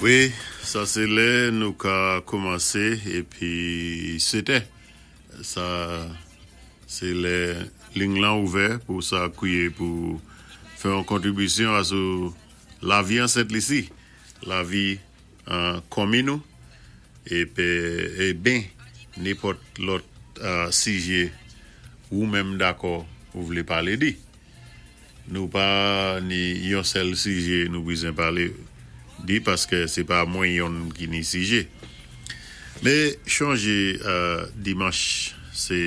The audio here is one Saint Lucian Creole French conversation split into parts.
Wi, sa sé lè nou ka koumansé épi sétè. Sa sé lè ling lan ouvè pou sa kwié pou fè yon kontribisyon asou lavi an Sent Lisi, lavi an konmin nou épi é ben nenpòt lòt sijé wou menm dakò ou vlé palé di. Nou pa ni yon sèl sijé nou bizwen palé di paskè sé pa mwen yonn ki ni sijé. Mé chonjé dimanch sé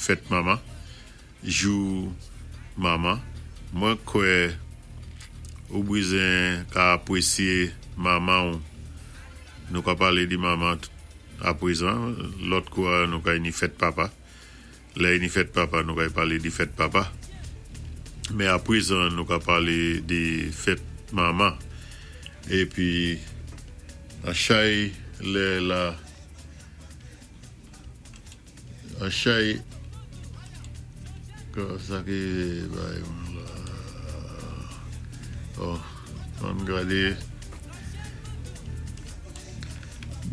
fèt manman, jou manman. Mwen kwè ou bizwen ka apwésyé manman ou. Nou ka palé di manman aprezan, lòt kou a nou ka ni fèt papa. Lè ni fèt papa nou kay palé di fèt papa men aprezan nou ka palé di fèt manman épi an chay lè la an chay sa ki bay mwen la oh ann gadé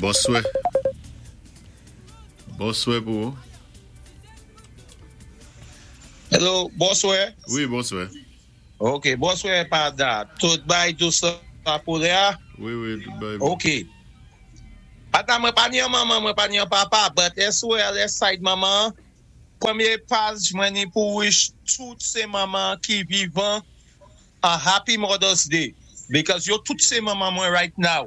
bonswè. Bonswè pou ou. Hello, bonswè. Wi, bonswè. Ok, bonswè Pada. Tout bay dous la pou lè a? Wi, wi, tout bay bon. Ok. Pada mwen pa ni yon manman, mwen pa ni yon papa, but eswè lè side manman, premye paj mwen ni pou wish tout se manman ki vivan a happy Mother's Day because yo tout se manman mwen right now.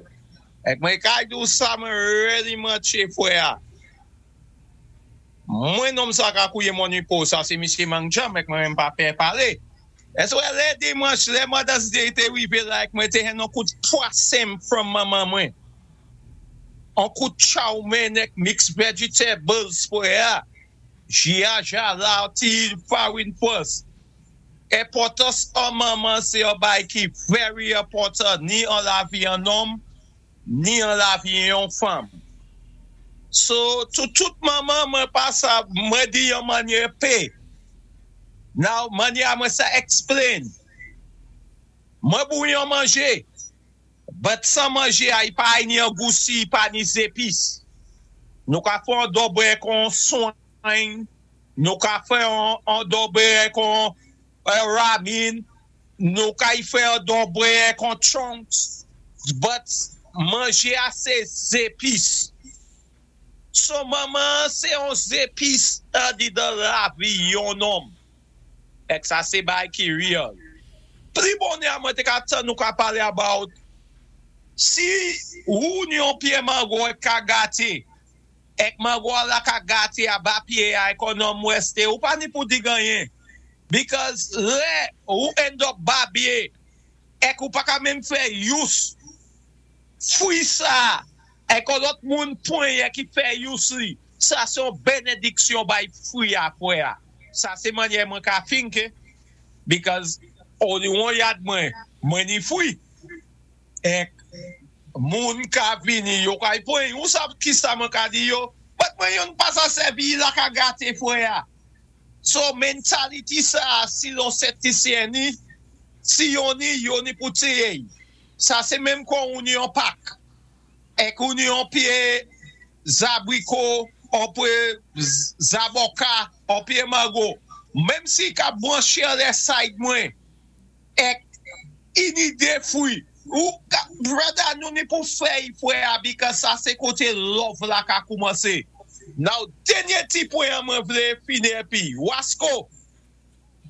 Ek mwen kay di w sa mwen really mantche fwè a. Mwen nonm sa ka kouye mon nipo sa se misye mang djanm ek mwen menm pa pè pale. Èske wè lè dimanch lè Mother's Day te rive la ek mwen te hen on kout pwasem from manman mwen. On kout chow mein ek mixed vegetables fwè a. Jia jala ti farin pwès. Enpòtans an manman sé yon bay ki very enpòtan ni an lavi an nonm ni an lavi yon fanm. So to tout manman mwen pa sa mwen di yon manyè p. Now manyè a mwen sa explain. Mwen bouyi yon manjé but san manjé a i pa ni an gou si i pa ni zepis. Nou ka fè yon dòbè kon swany. Nou ka fè yon dòbe kon ramin, nou ka y fè yon dòbe kon chunks, but manje a se zepis. So manman an se yon zepis andidan lavi yon nonm. Ek sa se bagay ki real. Pli bonè a mwen te ka tann nou ka pale about si ou ni yon pye mango ek ka gate. Ek mango a la ka gate aba pye a ek on nonm weste ou pa ni pou dig anyen because lè ou end up babye ek ou pa ka menm fè use fwi sa ek on lòt moun pwen ki fè use li sa se yon benediksyon bay fwi a frè a sa se manyè mwen ka think because only on yad mwen mwen ni fwi. Ek moun ka vini yo kay pwen ou sav kisa mwen ka di yo but mwen yonn pa sa sèvi la ka gate frè a so mentality sa si lon septisyen ni si yon ni yo ni pou tiyey sa se menm kon ou ni yon pak ek ou ni yon pye zabriko on pye zaboka on pye mango menm si ka bwanche anlè side mwen. Ek ini de fwi ou ka brother nou ni pou fèy frè a because sa se kote love la ka koumanse now dènye ti pwen an mwen vle fini epi wasko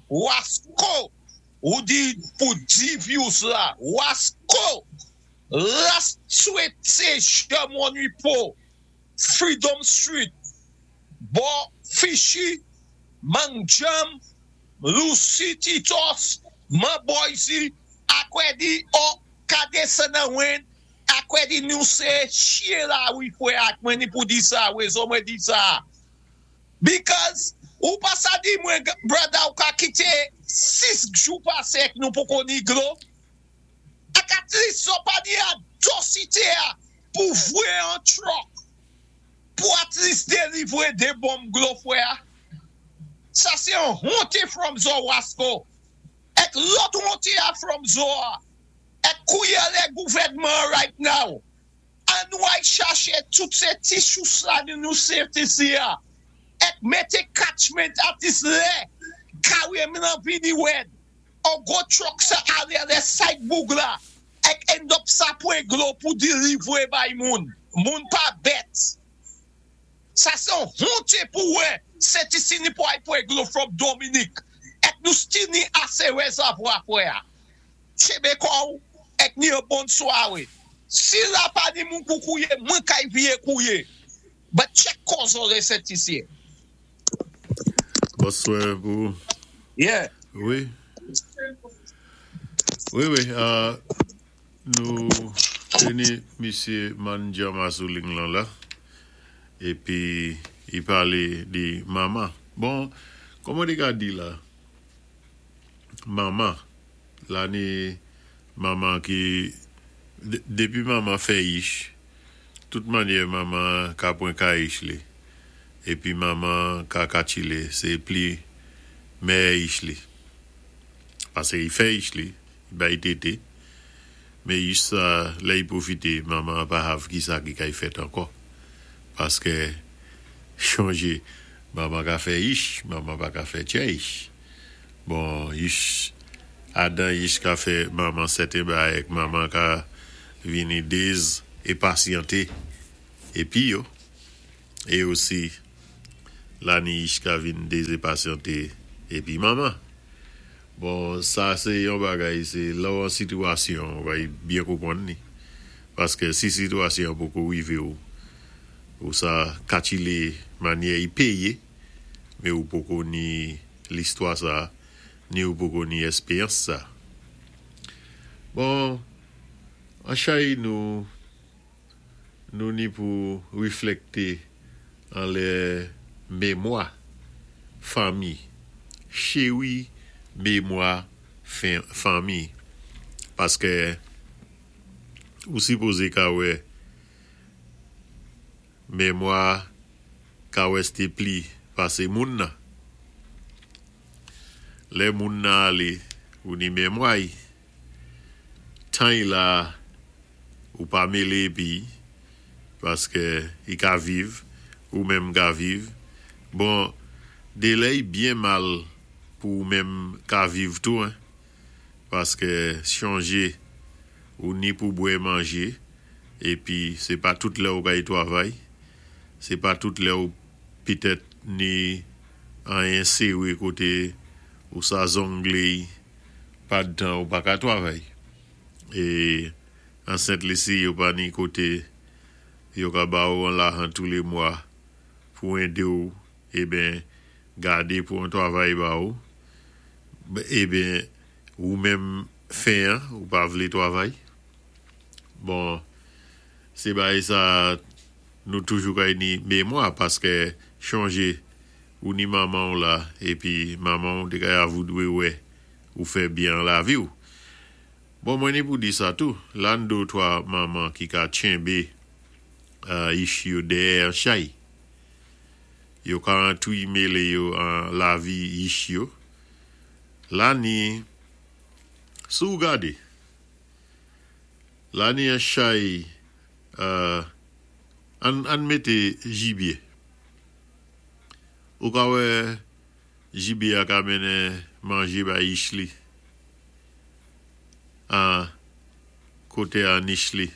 wasko ou di pou di views la wasko last swete janm on po freedom street bò fishy mang djanm Lucy Titos man Boise akwè di oh ka desann nan wen akwè di nou se chyen la wi frè ak mwen ni pou di sa rezo mwen di sa because ou pa sa di mwen brother ou ka kite 6 jou pase ek nou poko ni dlo ak at least zo pa di a dosite a pou vwe an truck pou at least delivre 2 bonm dlo frè a. Sa se yon honte from zo wasko. Ek lòt honte a from zo a. Ek Kouye lè gouvèdman right now. An nou ay chaché tout sé ti sous la ni nou CFTC a. Èk mété catchment atis lè karyèm lan vini wèd. On gwo truck sa alé lè side boug la èk end up sa pwen dlo pou deliver bay moun. Moun pa bèt. Sa sé on honte pou wè CTC ni pou ay pwen dlo from Dominique. Èk nou still ni asé reservoir frè a. Tchébé kò'w èk ni yon bon swaré. Si la pa ni moun pou kouye, mwen kay viyé kouye. But check kòzo lè Sentisye. Bonswè pou ou. Yeah. Wi. Wi wi nou te ni misye Mandjama sou ling lan la epi li pale de mama. Bon kòman te ka di la mama La ni manman ki depi manman fè ich tout manyè manman ka pran ka ich li epi manman ka katchile se pli mèyè ich li pase i fè ich li i bay tete men ich sa lè i pwofite manman an pa hav kisa ki kay fèt ankò paske chonje manman ka fè ich manman pa ka fè tchè ich. Bon yich adan yich ka fè manman sèten bagay ek manman ka vini dez e pasyante epi yo e osi lani yich ka vin dez e pasyante epi manman bon sa se yon bagay se lè w an sitiyasyon ou va byen konprann li paske si sitiyasyon an poko rive w ou sa katile manyè y peye men ou poko ni listwa sa ni ou poko ni èspeyans sa. Bon, an chay nou, nou ni pou reflekte anlè memwa fanmi, cheri memwa fanmi, paske ou sipoze ka wè Memwa ka weste pli pase moun nan. Lè moun nan ale ou ni memwa y. Tan y la ou pa mele epi paske y ka viv ou menm ka viv. Bon delè y byen mal pou ou menm ka viv tou hein paske chonje ou ni pou bwè manje. Epi se pa tout lè ou kay twavay, se pa tout lè ou pitèt ni anyen sere kote ou sa zongley pad tan ou pa ka twavay. E an Sent Lisi yo pa ni kote yo ka ba ou an lajan tou le mwa pou ende ou eben gade pou an twavay ba ou eben ou menm fen an ou pa vle twavay. Bon se bagay sa nou toujou kay ni memwa paske chonje ou ni manmanw la epi manmanw te kay avou dwe wè ou fè byen an laviw bon mwen ni pou di sa tou la n do 3 manman ki ka tchenbe ich yo dèyè an chay yo ka antwi mele yo an lavi ich yo la ni si w gade. La ni an chay uh Ann ann mete jibye Ou ka wè jibye a ka mennen manje bay ich li An kote a nich li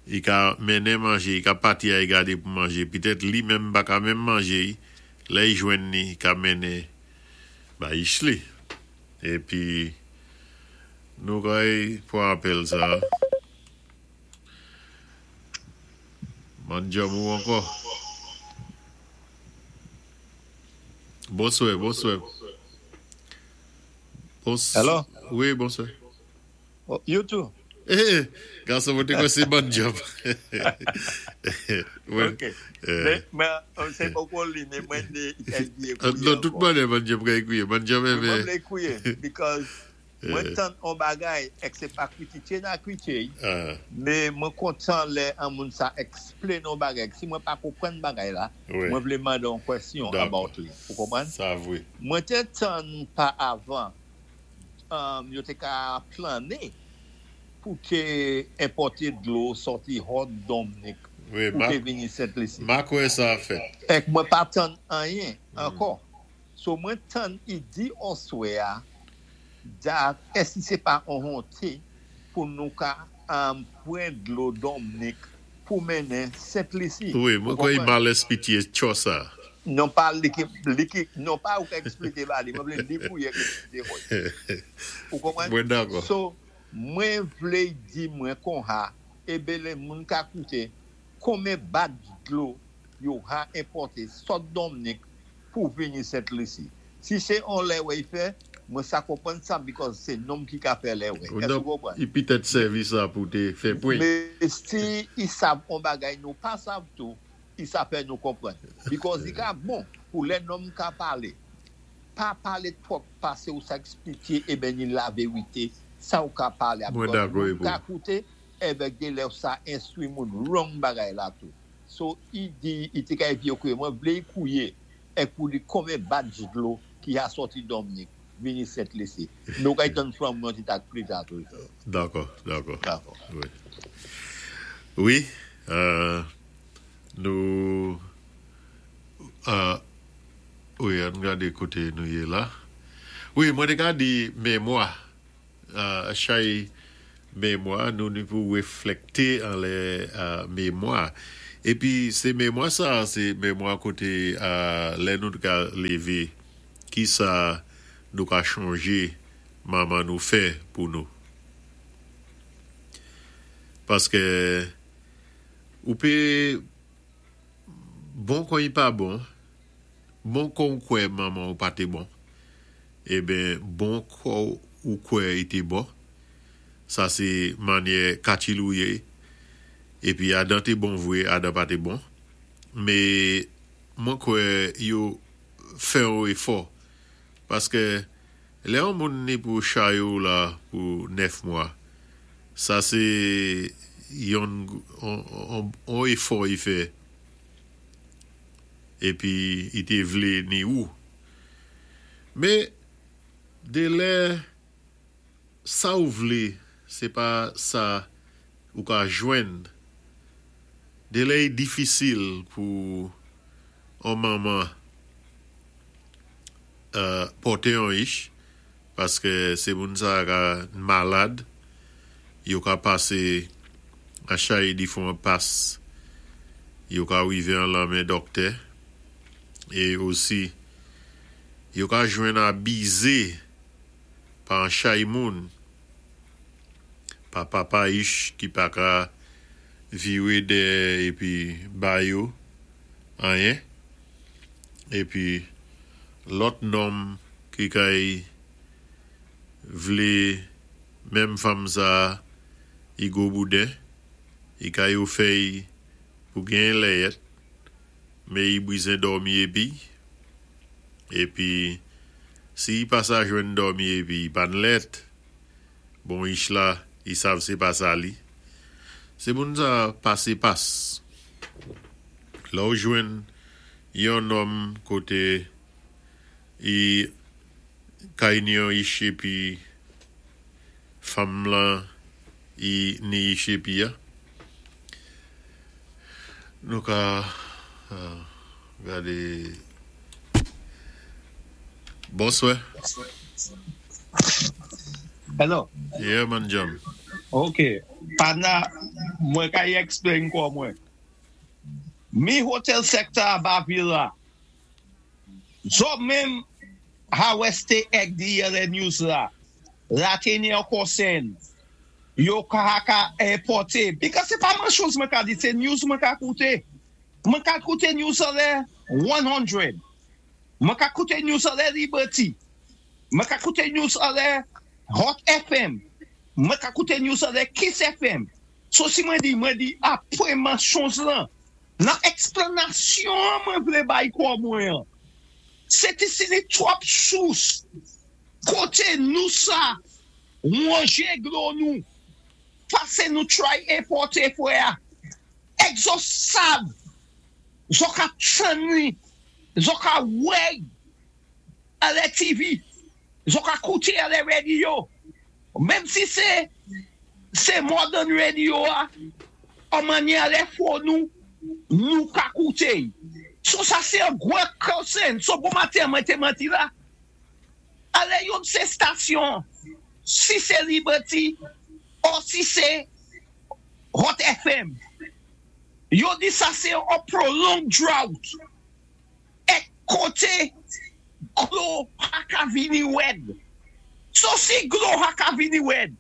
I ka mennen manje i ka pati ay gade pou manje Petèt li menm pa ka menm manje i Lè i jwenn ni i ka mennen bay ich li Epi nou kay pran apèl sa. Bann djanm ou ankò. Bonswè, bonswè. Bons Hello. Wi, bonswè. Oh, you too. Eh, gason mwen te kwè se bann djanm. Ok. Men, se poko li, men mwen de kay kouye Non, tout mwen bann djanm kay kouye. Bann djanm Mwen vle kouye, because mwen tan on bagay, ek se pa kritike na kritike, men mwen kontan lè an moun sa explain on bagay. Si mwen pa konprann bagay la, mwen vle mande on question about li. Ou konprann? Sa vre. Mwen te tan pa avan, yo te ka plane. pou té enpòté dlo sòti Hòt Domnik pou té vini Sent Lisi. Ma kwè sa ap fèt. Èk mwen pa tann anyen ankò. So mwen tann i di oswè a dat èsi se pa on honte pou nou ka pran dlo Domnik pou mennen Sent Lisi. Wi, mwen kwè i mal espitye tchò sa. Non pa li ki, li ki, non pa ou ka eksplike ba li, mwen vle li pou y eksplike mwen. Ou konprann? Mwen dakò. So, mwen vle di mwen konha, e bele moun ka koute, konmen bat dlo yo ha enpòte sot Domnik pou vini Sent Lisi. Si se on lè wè y fè, mwen sa konprann sa because se nonm ki ka fè lè wè. Èske ou konprann? I pitèt sèvi sa pou te fè pwen. Men si i sav on bagay nou pa sav tou, i sa fè nou konprann. Because i ka bon pou lè nonm ka pale, pa pale twòp pase ou sa eksplike e ben ni laverite sa ou ka pale a Mwen because dakò moun epi ka w. koute evèk de lè ou sa enstwi moun wrong bagay la tou. So i di i te ka epi yo kouye mwen vle i kouye ek pou di konbyen badj dlo ki ha sòti Domnik vini Sent Lisi. Nou kay tann flanm yon ti tak pli ta toujou. Dakò, dakò. Dakò. Wi. Wi, nou wi ann gade kote nou ye la. Wi, mwen te ka di memwa. Chay memwa nou ni pou reflekte anlè memwa. Epi se memwa sa a, se memwa kote lè nou ka leve, kisa nou ka chonje manman nou fè pou nou. Paske ou pe bon kon i pa bon, bon kon ou kwè manman ou pa te bon. Eben bon kò ou kwè i te bon. Sa se manyè Kachilou ye. Epi Adan te bon vre, Adan pa te bon. Me mwen kwè yo fè yon efò. Paske lè yon moun ni pou chay ou la pou 9 mwa, sa se yon yon efò i fè. Epi i te vle ni ou. Men, de lè sa ou vle se pa sa ou ka jwenn, de lè i difisil pou on manman pòte on ich, paske se moun sa ka malad, yo ka pase a chay difwan pas, yo ka rive an lanmen dòktè, e osi Yo ka jwenn abize pa an chay moun, pa papa ich ki pa ka vire dèyè epi ba yo anyen, epi lòt nonm ki kay vle menm fanm sa i gwo bouden, i kay ofèy pou genyen lèyèt. Me i brizen dòmi epi, epi si i pa sa jwenn dòmi epi i pa n lèt, bon ich la i sav se pa sa li. Se moun sa pase pas. Lè w jwenn yon nonm kote i kay ni yon ich epi fanm lan i ni ich epi a. Nou ka gade Bonswè. Hello. Yeah man John. Ok. Pana mwen ka y explain kò mwen. Mi hotel sector a ba vil la. Zò menm ha weste ek di yèlè news la. La te ni an konsen. Yo ka ka enpòte. Because se pa manchons mwen ka di, se news mwen ka koute. Mwen ka koute news anlè 100. Mwen ka koute news anlè Liberty. Mwen ka koute news anlè Hot FM. Mwen ka koute news anlè Kiss FM. So si mwen di, mwen di apre manchons lan, nan eksplanasyon an mwen vle bay kò mwen an. Se ti si ni twòp sous kote nou sa Wonje dlo nou pase nou try enpòte frè a ek zo sav zo ka tann li zo ka wè anlè TV zo ka koute anlè radio menm si se. Sé modern radio a, an mannyè lè fò nou, nou ka kouté. So sa sé an gwo concern. So bon maten mwen té manti la. Alè yon sé stasyon, si sé Liberty or si sé Hot FM, yo di sa sé an prolonged drought. Èk koté dlo pa ka vini wèd. So si dlo pa ka vini wèd,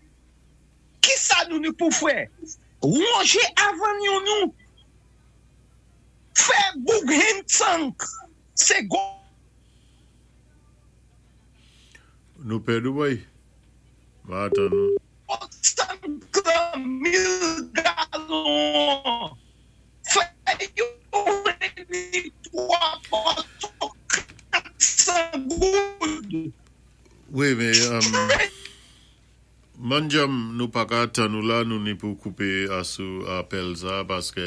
kisa nou ni pou fè? Wonjé avanyon nou, fè boug hand tank, sé gwo. Nou pèd ou boy? Ma atann ou. Tank lan 1000 galon an. Fè yo vini 3 bòtò 400 goud. Wi men Manjam nou paka tann ou la nou ni pou koupe asou apèl sa paske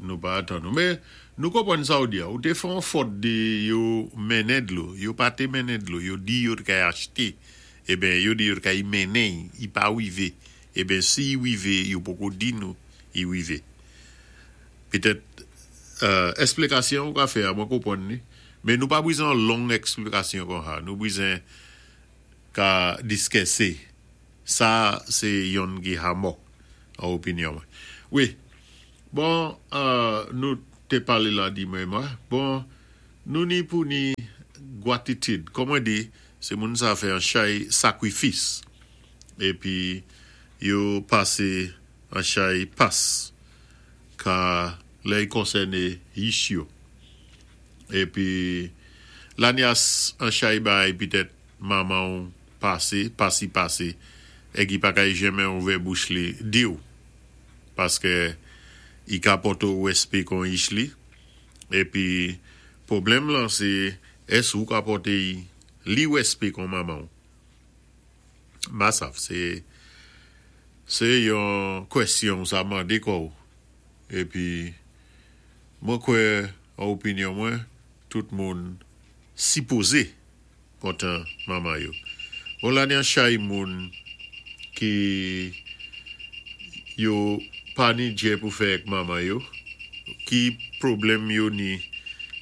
nou pa atann ou men nou konprann sa ou di a ou te fè yon fòt di yo mennen dlo yo pa te mennen dlo yo di yo t kay achte eben yo di yo t kay mennen i pa rive eben si i rive yo poko di nou i rive. Petèt esplikasyon ou ka fè a mwen konprann li, men nou pa bwizen yon long esplikasyon konsa. Nou bwizen ka diskèse. Sa se yonn ki hamò an opinyon mwen. Wi. Bon, nou te pale la di mwen mwen. Bon, nou ni pou ni gwatitid. Kòm mwen di, se moun sa fè yon chay sakrifis. Epi yo pase An chay pas ka lè y konsène yich yo. Epi lanyas an chay bay pitèt manman w pase, pasi pase, èg i pa kay jenmen ouvè bouch li di w paskè i ka pòte w wèspe kon yich li. Epi pwoblèm lan se ès ou ka pòte y li wèspe kon manman w. Masav se se yon kwèsyon ou sa mande kò ou epi mwen kwè an opinyon mwen tout moun sipoze kontan manman yo. Bon la ni chay moun ki yo pa ni djè pou fè ak manman yo ki pwoblèm yo ni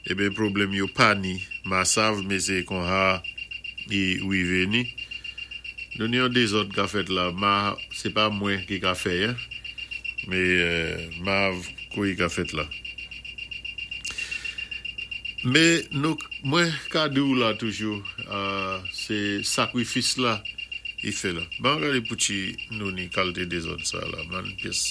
eben pwoblèm yo pa ni masav me se konha i rive ni nou ni yon dezòd ka fèt la ma se pa mwen ki ka fè en me mav kou i ka fèt la me nou mwen ka di w la toujou se sakrifis la i fè la ban gade pou ti nou ni kalte dezòd sa la man pyès.